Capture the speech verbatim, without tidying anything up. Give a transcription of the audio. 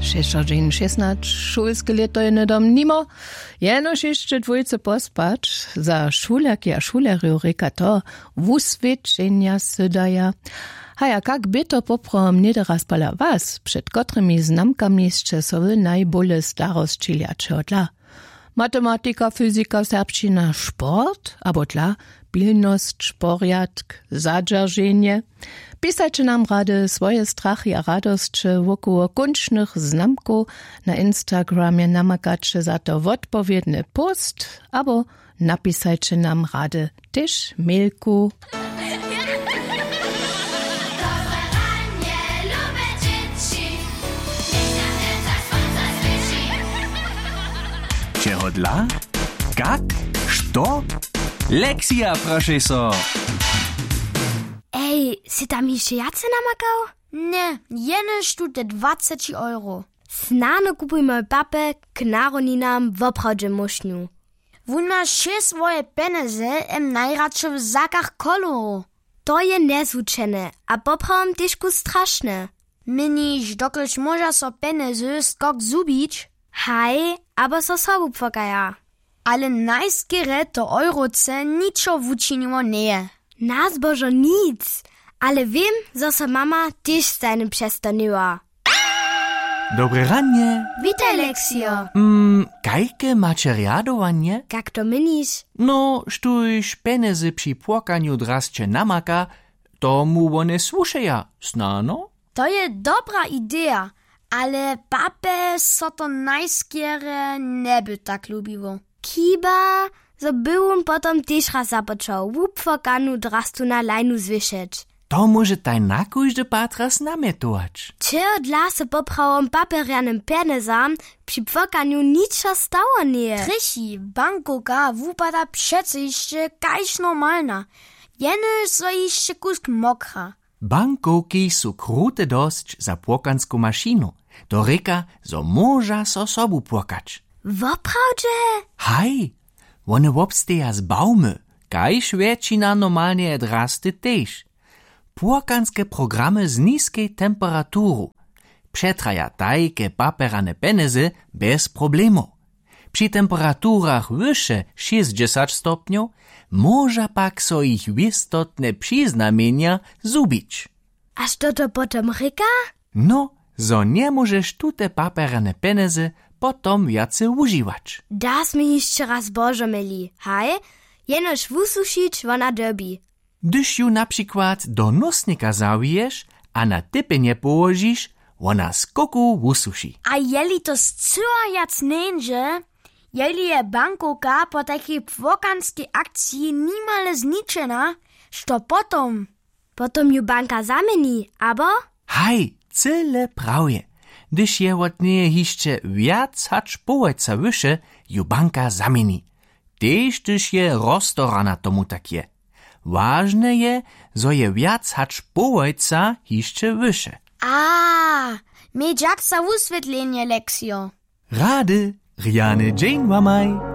Šesćdźesat šěsnać, šulske lěto je hnydom nimo. Jenož hišće dwójce pospać. Za šulerki a šulerjow rěka to, wuswědčenja sy daja. Haja, kak bě to poprawom něhdyrjazpala was? Před kotrymi znamkami sće so wy najbóle starosćili a čehodla? Matematika, fyzika, serbšćina, sport abo dla pilnosć, porjadk, zadźerženje? Pisajće nam rady swoje strachy a radosće wokoło kónčnych znamkow. Na instagramje namakaće za to wotpowědny post abo napisajće nam rady tež mailku. Čehodla? Kak? Što? Lexia, prošej so. Ej, sy tam hišće wjace namakał? Ně, jenož tute dwaceći euro. Snano kupuj mojej papje k narodninam woprawdźe móšnju. Wón ma wšě swoje pjenjezy em najradšo w zakach koloru. To je njezwučene a poprawom težku strašne. Měniš, dokelž móža so pjenjezy skok zhubić? Haj, abo so sobu płakaja. Ale najskerje to euroce ničo wučiniło njeje. Na zbožo nic. Ale wěm, zo so mama tež stajnje přestanyła. Dobre ranje. Witaj, Lexio. Mm, kajke maće rjadowanje? Kak to měniš? No, štóž pjenjezy při płokanju drasće namaka, tomu wone słušeja, snano? To je dobra ideja, ale papje so to najskerje njeby tak lubiło. Chiba, zo by wón potom tež raz započał wupłakanu drastu na lajnu zwěšeć. To móžetaj na kóždy pad raz namjetować. Čehodla so poprawom papjerjanym pjenjezam při płokanju ničo stało njeje? Trjechi, bankowka wupada přeco hišće kaž normalna, jenož zo hišće kusk mokra. Bankowki su krute dosć za płokansku mašinu. To rěka, zo móža so sobu płakać. Woprawdźe? Haj, wone wobsteja z bawmy, kaž wjetšina normalneje drasty tež. Płokanske programy z niskej temperaturu přetraja tajke papjerane pjenjezy bjez problemow. Při temperaturach wyše šěsćdźesać stopnjow móža pak so jich wěstotne přiznamjenja zhubić. A što to potom rěka? No, zo njemóžeš tute papjerane pjenjezy potom wjace wužiwać. Da smy hišće raz božo měli, haj? Jenož wusušić wona dyrbi. Hdyž ju na přikład do nósnika zawiješ a na typjenje połožiš, wona skoku wusuši. A jeli to scyła wjac njeńdźe, jeli je bankowka po tajkej płokanskej akciji nimale zničena, što potom? Potom ju banka zaměni, abo? Haj, cyle prawje. Hdyž je wot njeje hišće wjac hač połojca wyše, ju banka zaměni. Tež hdyž je roztorana, tomu tak je. Wažne je, zo je wjac hač połojca hišće wyše. A, měj dźak za wuswětlenje, Lexio. Rady, rjany dźeń wamaj.